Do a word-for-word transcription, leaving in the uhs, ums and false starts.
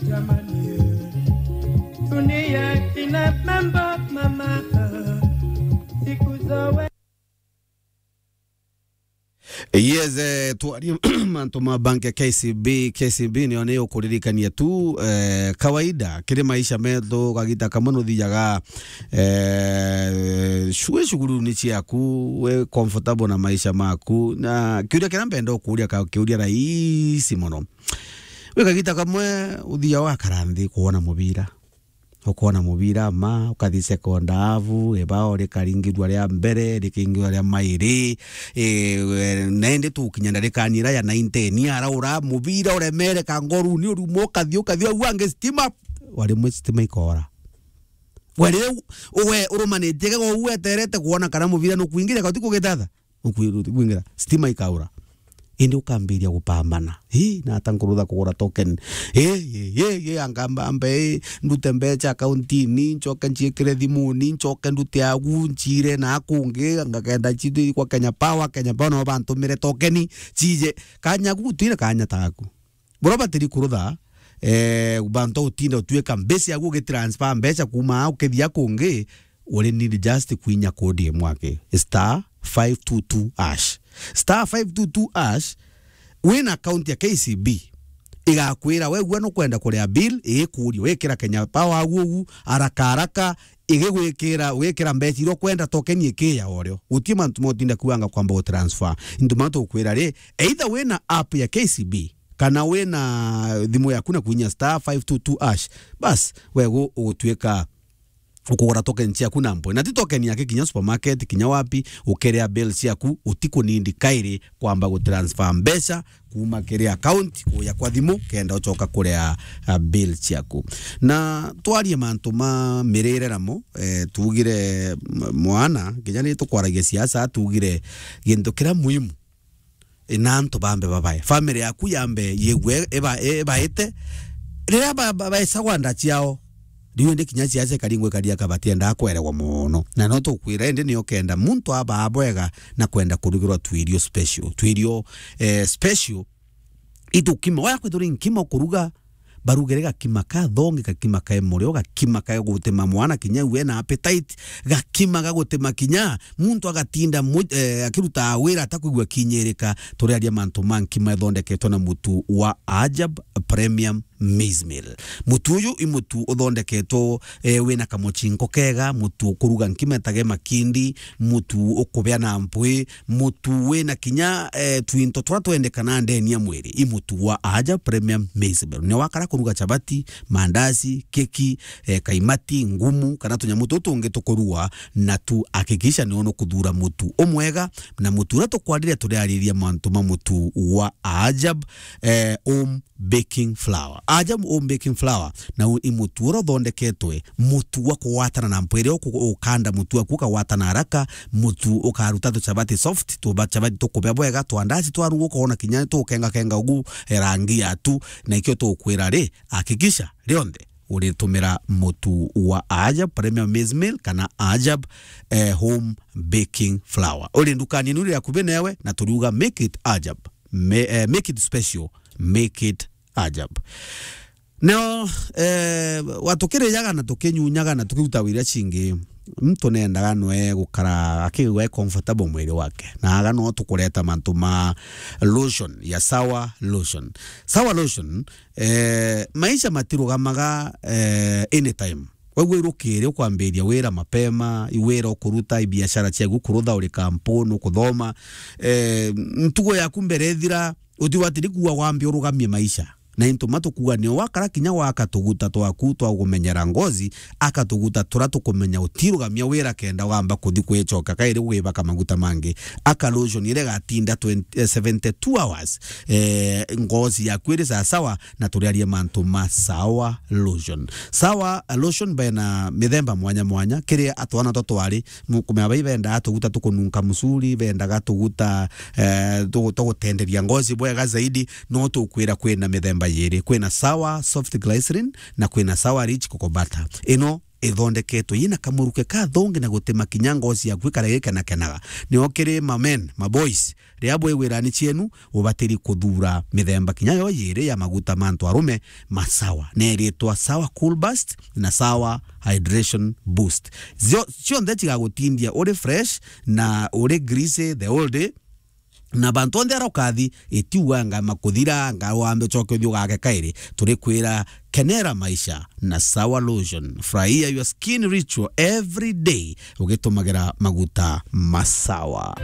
Jamani, dunia ina mambo mama, siku zoe. Yes, eh, twarie mantu ma bank ya K C B. K C B niyo ni ukuririkania tu, eh, kawaida kiri maisha metu, kagita kamwe nuthiaga, eh, shu-, we shughuli ni ciaku, we comfortable na maisha maku. Na kiuria kiria mbenda ukuria, ka kiuria rahisi mono. We kagita kamwe uthiaga ugakara nthi kuona mubira. Ukoona mubira ma, ukathi second half, ibao rikaringirua ria mbere, rikaingirua ria mairi, eh, na indi tukinya ndarikani ira ya ninety, araura mubira uremere kangoruni uruma, ukathi, ukathi, au angi stima, wa rimwe stima ikoora. We riu, we urumanite gego uu weterete kwona kana mubira nukwingira, kana ti kugitatha. Ukwingira, stima ikaura. Indi ukambiria gupambana. Ii, nata nkurutha kugura token? Ii, ii, ii, ii, anga mba-, mbe, ii, ndute mbeca akaunti-ini, ncoke nciikire thimuni, ncoke ndute agu, nciire na kungi, ngakenda cithii kwa Kenya Power, Kenya Power nao bantumire token, ciije. Kanya gu gutire kanya taku. Buria batiri kurutha, eh, bantu utinda utuika mbeca yaku ugitransfer mbeca kuuma aa ukithia kungi, uri need just kwinya kodi imwe aki, star five two two hash. Star five two two hash, wina account ya K C B, igakwira we gua nukwenda kuria bill, igikuria, wikira Kenya Power agu ugu, haraka haraka, igigwikira, wikira mbeca iria ukwenda, token ikiya orio. Guti mantu motinda kuanga kwamba gutransfer. Into mantu ukwira ri, either wina app ya K C B, kana wina thimu yaku na kwinya star five two two hash, bas, we gu-, ugutuika ukugura token ciaku na mpwi. Na ti token yake, kinya supermarket, kinya wapi, ukerea bill ciaku, utikunindi kairi kwamba gutransfer mbeca kuuma kiri account kuja kwa thimu, kenda ucoka kurea, ah, bill ciaku. Na twarie mantu ma mirire namo, eh, tugire m-, mwana, kinya ni tukwaragia siasa, tugire gintu kiria muhimu na antu bambe babae. Family yaku yambe yigue iba-, ibaite. Riria ba-, ba-, baecagwa nda ciao, riu indi kinya ciaca ikaringwa ikaria kabatiendaa kweregwa mono. Na no tukwira, indi nio kenda muntu abaa bwega na kwenda kurugirwa twirio special. Twirio, eh, special. Itukima, oya kwithirwa nkima ukuruga, barugere gakima ka thongi, gakima ka murio, gakima ka gutima mwana kinya we na appetite, gakima ga gutima kinya muntu agatinda mu-, eh, akiruta wira atakwigua kinyirika. Turiaria mantu ma nkima ithondeketwe na mutu wa Ajab Premium Maize Meal. Mutu uyu i mutu uthondeketwo, eh, wina kamuchinko kega, mutu ukuruga nkima itage makindi, mutu ukubea na mpwi, mutu wina kinya, eh, twinto turia twendekana ndeni ya mwiri, i mutu wa Aja Premium Maize Meal. Ni wakara kuruga chapati, mandazi, keki, eh, kaimati, ngumu, kana tunyamu tutu tungi tukurua, na tu hakikisha ni unukuthura mutu umwega, na mutu uria tukwarire turiariria mantu ma mutu wa Ajab, eh, um, baking flour. Aja home baking flour, na u-, i mutu uria uthondeketwe, mutu wa kugwatana na mpwere, uku-, ukanda mutu waku ukagwatana haraka, mutu ukaruta tuchabati soft, tuba chabati tukubea bwega, twa ndaci twaruga ukoona kinya tukengakenga ugu, eh, rangi yatu, na ikio tukwira ri, hakikisha rionthe uritumira mutu wa Ajab Premium Maize Meal kana Ajab, eh, home baking flour. Uri ndukani inu iri akubi newe, na turiuga make it Ajab. Ma-, eh, make it special, make it Ajab. Neo, eh, watukirijaga na tukinyunyaga na tukiruta wira cingi, muntu nendaga nwe gukara akigua e comfortable mwiri wake. Na aga no tukureta mantu ma lotion ya Sawa Lotion. Sawa Lotion, eh, maisha matirugamaga, eh, anytime. Wegua irukiri ukwambiria wira mapema, i wira ukuruta, i biashara ciaku ukurutha, uri kampuni, ukuthoma, eh, ntugo yaku mbere ithira, utigwatiri kuua wambe urugamie maisha. Na into ma tukuuga nio wakara kinya waka tuguta twaku twa gumenyera ngozi, aka tuguta turia tukumenya utirugamia wira kenda ugamba kuthi kwicoka kairi gwibaka maguta mangi. Aka lotion iria igatinda twenty, eh, seventy-two hours, eh, ngozi yaku iri sawasawa, na turiarie mantu ma Sawa Lotion. Sawa Lotion bena mithemba mwanya mwanya, kiri atwana twa twari, mu-, kumenya bai bendaga tuguta tukununka musuri, bendaga tuguta, eh, tu-, tugutenderia ngozi bwega zaidi, no tukwira kwina mithemba yiri, kwina Sawa Soft Glycerin na kwina Sawa Rich Cocoa Butter. Ino ithondeketwe yina kamuruke kathongi na gutima kinya ngoci yaku ikare gikenakenaga. Nio kiri ma men, ma boys, riria bwigwirani cienu, ubatiri kuthura mithemba kinya yo yiri ya maguta ma antu arume ma Sawa. Neritwa Sawa Cool Burst na Sawa Hydration Boost. Zio-, cionthe cigagutindia uri fresh na uri greasy the whole day. Na bantu onthe aria ukathi, itiuga nga makuthira, nga wambe ucoke uthi ugake kairi. Turikwira, kenera maisha na Sawa Lotion. Furahia your skin ritual every day ugitumagira maguta ma Sawa.